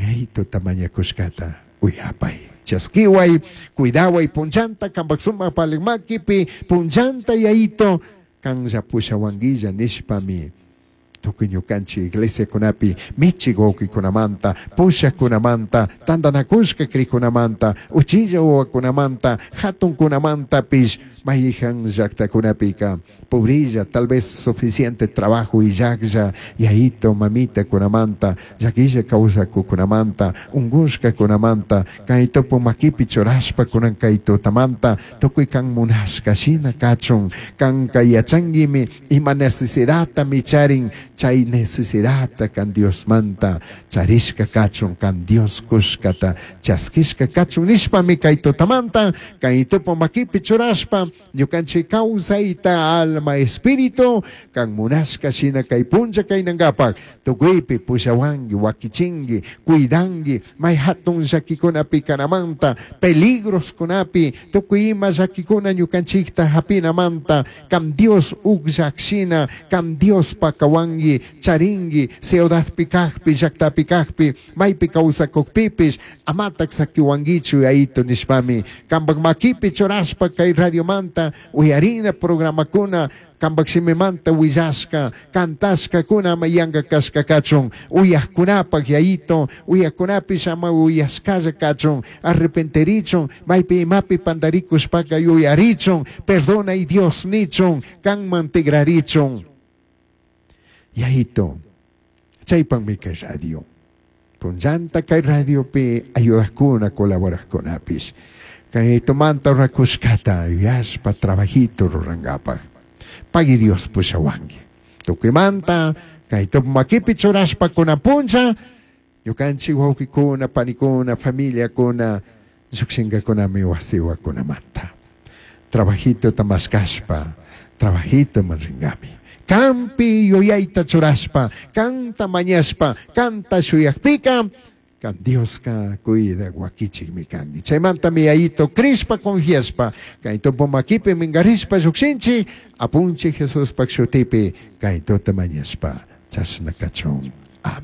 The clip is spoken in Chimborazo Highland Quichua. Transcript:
Yayaitota mañacushcata uyapai. Chasquihuai, cuidahuai punllanta cambaj sumaj valij maquipi punllanta Yayaito canlla pushahuanguilla nishpami tukuy ñukanchik iglesiakunapi michik wawqikunamanta, pushajkunamanta, tandanakushka crijkunamanta, uchilla wawakunamanta, hatunkunamantapish mayhan llaktakunapika pobrilla, tal vez suficiente trabajo illajlla, yayito, mamitakunamanta, llaquilla kawsakukunamanta, ungushkakunamanta, kay tupu makipi churashpa kunan kay tutamanta, tukuy kan munashka shina kachun, kanka yachanguimi ima necesidadtami charin, chay necesidadta kan Diosmanta charishka kachun, kan Dios kushkata chaskishka kachun nishpami kay tutamanta, kay tupu makipi churashpa, ñukanchik kawsayta alma espíritu kan munashka shina kay punlla kaynankapak tukuypi pushawanki, wakichinki, cuidanki, may hatun llakikunapi kanamanta, peligroskunapi, tukuy ima llakikuna ñukanchikta hapinamanta, kan Dios ukllak shina, kan Dios pakawanki, charinki, ciudadpi kajpi, llaktapi kajpi, maypi kawsakukpipish, amatak sakiwankichu Yayito nishpami, kanpak makipi churashpa kay radiomanta uyarina programakuna, kanpak shimimanta willashka, cantashkakuna ama yanka kashka kachun, uyajkunapak Yayito, uyajkunapish ama uyashkalla kachun, arrepentirichun, maypi imapi pandarikushpaka yuyarichun, perdonay Dios nichun, kanman tigrarichun. Yayito, chaypakmi kay radio. Punllanta kay radiopi ayudajkuna, colaborajkunapish. Kay tumanta rurakushkata yuyashpa trabajito rurankapak. Pagui Dios pushawanki. Tukuymanta kay tupu makipi churashpa kunan punlla, ñukanchik wawqikuna, panikuna, familiakuna, llukshinkakunami wasiwakunamanta. Trabajitota mashkashpa, trabajitoman rinkami. Kanpi yuyayta churashpa, kanta mañashpa, kanta shuyakpika, kan Dioska cuida wakichikmi kanki. Chaymantami Yayito crishpa confiashpa, kay tupu makipi minkarishpa llukshinchik, apunchik Jesuspak shutipi kay tuta mañashpa, chashna kachun. Amén.